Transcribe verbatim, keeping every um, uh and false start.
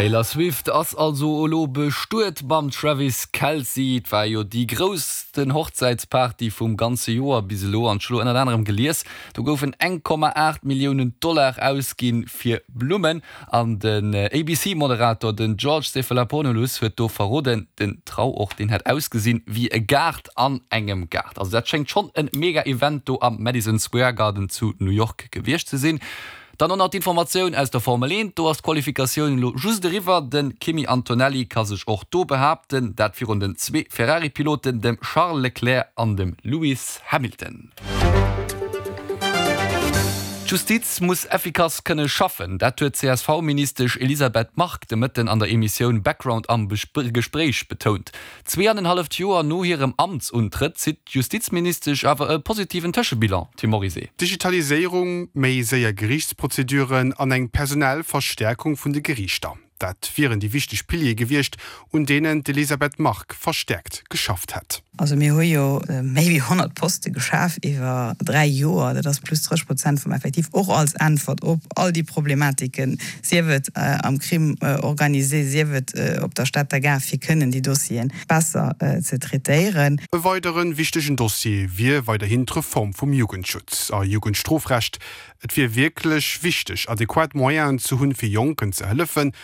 Taylor Swift ass also elo bestuet mam Travis Kelce. Et war jo déi groussten Hochzäitsparty vum ganze Joer bis elo an ech hu lo ënnert anerem gelies, do goufen eng Komma aacht Milliounen Dollar ausginn fir Blummen an den A B C-Moderator, den George Stephanopoulos, huet do verroden, den Trauort, deen hätt ausgesinn wéi e Gaart an engem Gaart. Also dat schéngt schonn e mega Event do am Madison Square Garden zu New York gewiescht ze sinn. Dann och nach d'Informatioun aus der Formel eent, do ass d'Qualifikatioun elo just eriwwer, de Kimi Antonelli ka sech och do behaapten, dat virun den zwee Ferrari-Piloten, dem Charles Leclerc an dem Lewis Hamilton. D'Justiz muss effikass kënne schaffen, dat huet d'C S V-Ministesch Elisabeth Margue de Mëtten an der Emissioun Background am Gespréich betount. Zwee an en halleft Joer no hirem Amtsuntrëtt zitt d'Justizministesch awer e positiven Tëschebilan, Tim Morizet. Digitaliséierung, méi séier Geriichtsprozeduren an eng personell Verstäerkung vun de Geriichter. Dat wieren déi wichteg Piliere gewiescht, un deenen d'Elisabeth Margue verstäerkt geschafft hätt. Also mir hu jo méi wéi honnert Poste geschaf iwwer dräi Joer, dat ass plus drësseg Prozent vum Effektiv, och als Äntwert op all déi Problematiken, sief et am Crime organisé, sief et op der Stater Gare, fir kënnen déi Dossieren besser ze traitéieren. E weidere wichtegen Dossier wier weiderhin d'Reform vum Jugendschutz a Jugendstrofrecht. Et wier wierklech wichteg, adequat Moyenen ze hunn, fir Jonken ze hëllefen.